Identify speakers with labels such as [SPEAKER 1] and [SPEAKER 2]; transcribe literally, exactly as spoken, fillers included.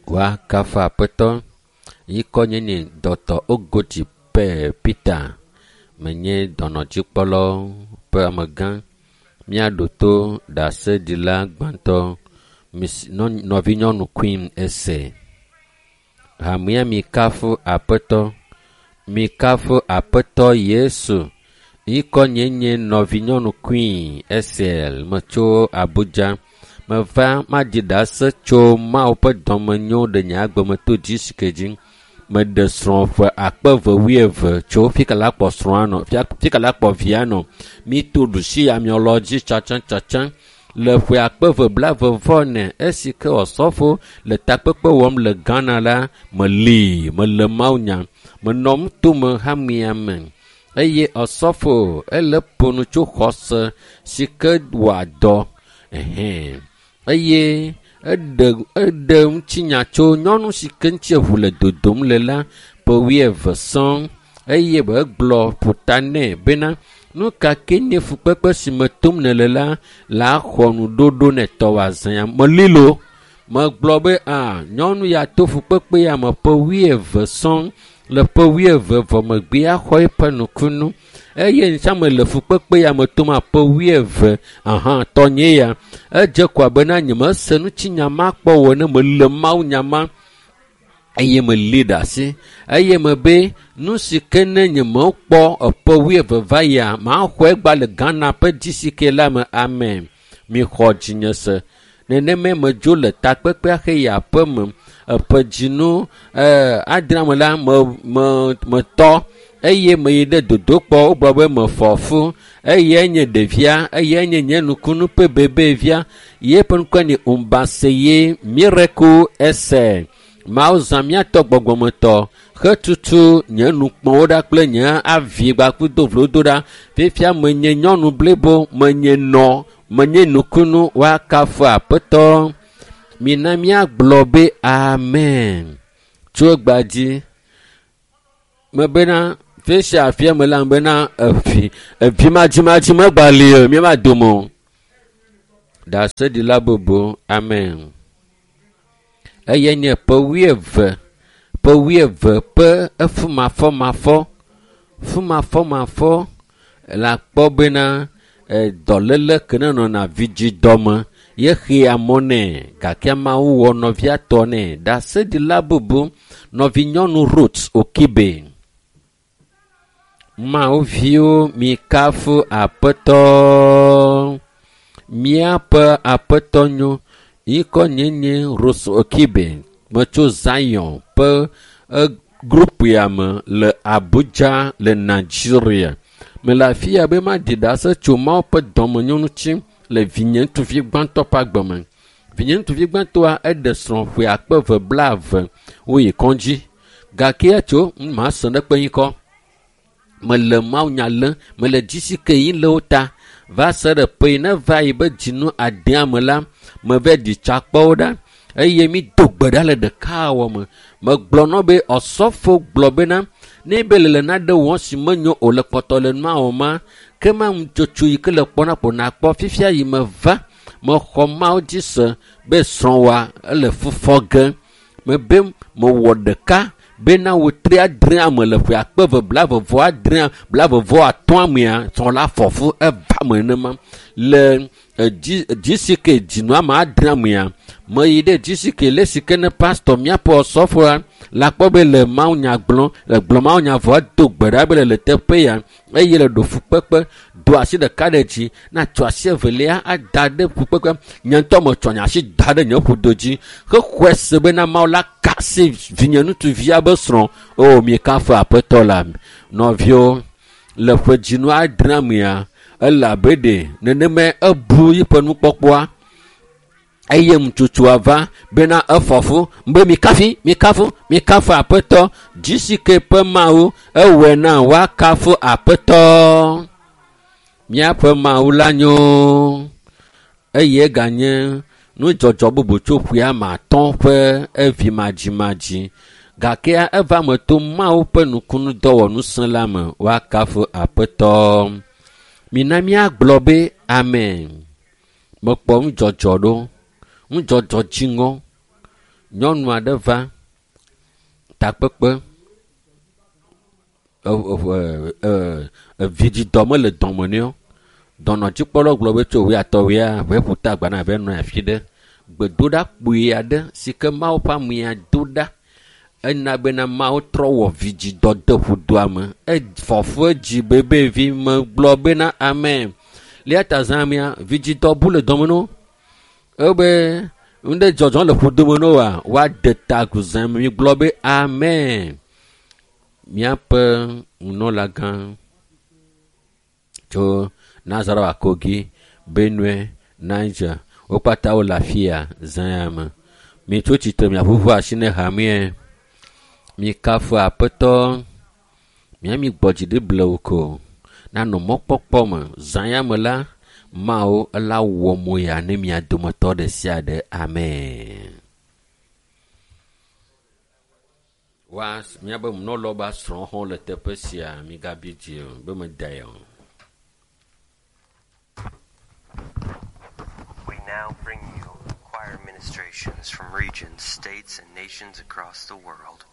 [SPEAKER 1] Woakafu Aƒetɔ. Ŋkɔ nye nye Dɔkta Ogoti Peter. Menye dɔnɔdzikpɔlawo ƒe amegã. Míaɖo to ɖaseɖila gbãtɔ nɔvinyɔnu Queen Ese. Hamea mikafu Aƒetɔ. Mikafu Aƒetɔ Yesu. Ŋkɔ nye nye nɔvinyɔnu Queen Ese metso Abuja. Meva maɖi ɖase tso Mawu ƒe dɔmenyo ɖe nye agbe me to dzisike dzi. Meɖe srɔ̃ ƒe akpe eve wuieve tso fika la kpɔ srɔ̃a nɔ, fika la kpɔ via nɔ. Míto ɖusi amiɔlɔ dzi tsatsãtsatsã le ƒe akpe eve blaeve vɔ ene esi ke Osɔfo le takpekpe wɔm le Ghana la, meli, mele Mawunya. Menɔ nutome hamea me eye Osɔfo ele ƒo nu tso xɔse si ke wɔa dɔ ɛhɛ̃ eye eɖe eɖe ŋutinya tso nyɔnu si ke ŋuti eʋu le dodom le la ƒe wuieve sɔŋ eye be egblɔ ƒota nɛ bena nu ka ke nye fukpekpe si me tom nèle la la xɔ nuɖoɖo ne tɔwò azã ya. Meli lo. Megblɔ be a nyɔnu ya to fukpekpe ya me ƒe wuieve sɔŋ le ƒe wuieve vɔ megbea xɔ eƒe nukunu eye ŋutia me le fukpekpe ya me tom ƒe wuieve aha tɔnye ya edze ko abena nyemese ŋutinya ma kpɔ o ene mele Mawunya ma eye meli ɖe asi eye mebe nu si ke ne nyemekpɔ eƒe wuieve va yia maxɔ egba le Ghana ƒe dzisike la me. Amen. Mixɔ dzinye se. Nenemae medzo le takpekpea xe yi aƒe me. Eƒe dzinu ɛɛ adrea me la me me metɔ eye meyi ɖe dodokpɔ wogblɔ be mefɔ fu eye nye ɖevia eye nye nye nukunu ƒe bebevia ye ƒe ŋkɔe nye Umbaseye Miracle Ese. Mawu zã míatɔ gbɔgbɔmetɔ hetutu nye nukpɔwo ɖa kple nye avi kpakple vlodo ɖa. Fifia menye nyɔnu blibo, menye nɔ, menye nukunu woakafu Aƒetɔ. Mina míagblɔ be amen. Tso egbea dzi mebena fisia afia me la bena evi evi madzimadzi megba li o míava dome o. Ɖaseɖila bubu amen. Eye nye ƒe wuieve ƒe wuieve ƒe efumafɔmafɔ fumafɔmafɔ la kpɔ bena dɔléle ke ne nɔna vidzidɔme ye xea mɔ nɛ gake Mawu wɔ nɔvia tɔ nɛ. Ɖaseɖila bubu nɔvinyɔnu Ruth Okibe. Mawu viwo mikafu Aƒetɔ. Míaƒe Aƒetɔ nyo. Ŋkɔ nye nye Ruth Okibe. Metso Zion ƒe grupia me le Abuja le Nigeria. Mele afi ya be maɖi ɖase tso Mawu ƒe dɔmenyo ŋuti le vinye ŋutsuvi gbãtɔ ƒe agbe me. Vinye ŋutsuvi gbãtɔa eɖe srɔ̃ ƒe akpe eve blaeve woyi kɔdzi gake etso mase ɖe kpe ŋkɔ. Mele Mawunya lém, mele dzisi ke yi le wo ta va se ɖe ƒe yi ne va yi be dzinu adea me la meva ɖi tsa kpɔ wo ɖa eye mi do gbe ɖa le ɖekawɔ me. Megblɔ nɔ be Osɔfo gblɔ bena ne be le le naɖe wɔm si menyo o le kpɔtɔ le nua wɔm ma ke ma ŋutsotso yi ke le kpɔna kpo nakpɔ fifia yi meva mexɔ Mawu dzi se be srɔ̃wòa ele fufɔ ge. Mebe mewɔ ɖeka bena wòtri adrea me le ƒe akpe eve blaeve vɔ adrea blaeve vɔ atɔ̃a mea srɔ̃ la fɔ fu eva me nenema le dzi dzisike dzinua me adrea mea meyi ɖe dzisike le si ke ne pastor míaƒe Osɔfoa la kpɔ be le Mawunya gblɔm le gblɔ Mawunya vɔ do gbe ɖa be le le teƒe ya eye le ɖo fukpekpe do asi ɖeka ɖe dzi na tsɔ asi evelia ada ɖe fukpekpe. Nye ŋutɔ metsɔ nye asi da ɖe nye ƒodo dzi hexɔe se bena Mawu la ka asi vinye ŋutsuvia be srɔ̃. O mikafu Aƒetɔ la. Nɔviwo le ƒe dzinu adrea mea ele abe ɖe nenemae ebu yiƒe nukpɔkpɔa eye ŋutsotsoa va bena efɔ fu be mikafi mikafu mikafu Aƒetɔ dzisike ƒe Mawu ewɔe na woakafu Aƒetɔ. Míaƒe Mawu la nyo eye eganye nudzɔdzɔ bubu tso ƒea me atɔ̃ ƒe evi madzimadzi gake eva me to Mawu ƒe nukunudɔwɔŋusẽ la me woakafu Aƒetɔ. Mina míagblɔ be amen. Mekpɔ nudzɔdzɔ ɖo, nudzɔdzɔ dziŋɔ Nyɔnu aɖe va takpekpe evidzidɔ mele dɔme nɛ o. Dɔnɔdzikpɔlawo gblɔ be tso wuiatɔ̃ wuia ʋe ƒuta agbana ʋe nɔ afi ɖe. Gbedoɖa kpui aɖe si ke Mawu ƒe amea do ɖa ena bena Mawu trɔ wɔ vidzidɔ de ƒudoa me. Efɔ fu edzi bebevi megblɔ bena amen. Lia ta zã mea vidzidɔ bu le dɔme no. Ebe nu ɖe dzɔdzɔm le ƒudome no wa woade ta agu zã me. Migblɔ be amen. Míaƒe nunɔlagã tso Nazareth Kogi, Benue, Niger, wo katã wole afi ya zã ya me. Mitso tsitre miaʋuʋu asi ne hamea. Mikafu Aƒetɔ. Miami gbɔ dzi ɖi blewu ko. Nanɔ mɔkpɔkpɔ me. Zã ya me la, Mawu ela wɔ mo ya ne mia dometɔ ɖe sia ɖe. Amen. Wa míabe nunɔlawo be asrɔ̃wo hã le teƒe sia migabi dzi o be medae o.
[SPEAKER 2] We now bring you choir ministrations from regions, states, and nations across the world.